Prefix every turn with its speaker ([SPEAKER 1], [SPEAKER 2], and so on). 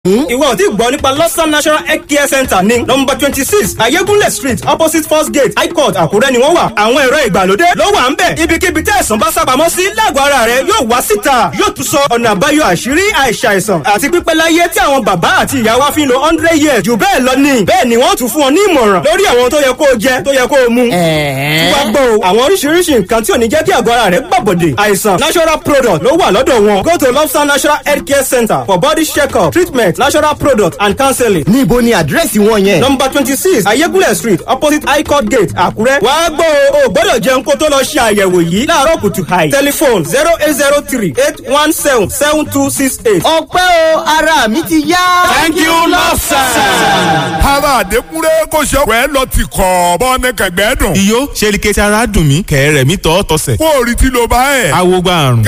[SPEAKER 1] Ìwọ ò tí gbọ́ nípa Lọ́sàn National Health Care Center ní nọ́mbà 26 Ayégúnlẹ̀ Street, opposite First Gate, High Court, Àkúrẹ́ ni wọ́n wà. Àwọn ẹ̀rọ ìgbàlódé ló wà ń bẹ̀. Ibikíbi tí àìsàn bá sábàámọ́ sí lágọ̀ọ́ ara rẹ̀ yóò wá síta. Yóò tún sọ ọ̀nà àbáyọ àṣírí àìsàìsàn àti pípẹ́ láyé tí àwọn bàbá àti ìyá wa fi ń lo 100 years jù bẹ́ẹ̀ lọ ni. Bẹ́ẹ̀ ni wọ́n tún fún ọ ní ìmọ̀ràn lórí àwọn tó yẹ kó o jẹ, tó yẹ kó o mu. Wá gbọ́ o, àwọn oríṣiríṣi nǹkan tí ò ní jẹ́ kí àgọ́ ara rẹ̀ gbàbọ̀dè. Àìsàn natural product ló wà lọ́dọ̀ wọn. Go to Lobster Natural Health Care Center for body check-up, treatment, natural product and counseling.
[SPEAKER 2] Níbo ni àdírẹ́sì wọn yẹn?
[SPEAKER 1] Number 26 Ayégúnlẹ̀ Street, opposite High Court Gate, Àkúrẹ́. Wàá gbọ́ o, o gbọ́dọ̀ jẹun kó tó lọ ṣe àyẹ̀wò yìí láàárọ̀ kùtù hàì. Telephone 08038177268.
[SPEAKER 2] Ọpẹ́ o, ara mi ti yá.
[SPEAKER 3] Thank you, Lobster.
[SPEAKER 4] Ara àdékúnrẹ́ kò ṣe ọ̀pẹ́ lọ ti kọ̀ bọ́ ní kẹ̀gbẹ́ dùn.
[SPEAKER 5] Iyó ṣe lè kẹ́tì ara dùn mí kẹ̀rẹ̀ mi tọ́ tọ́sẹ̀.
[SPEAKER 4] Kó o rí tí ló bá ẹ̀.
[SPEAKER 5] Awogba àrùn.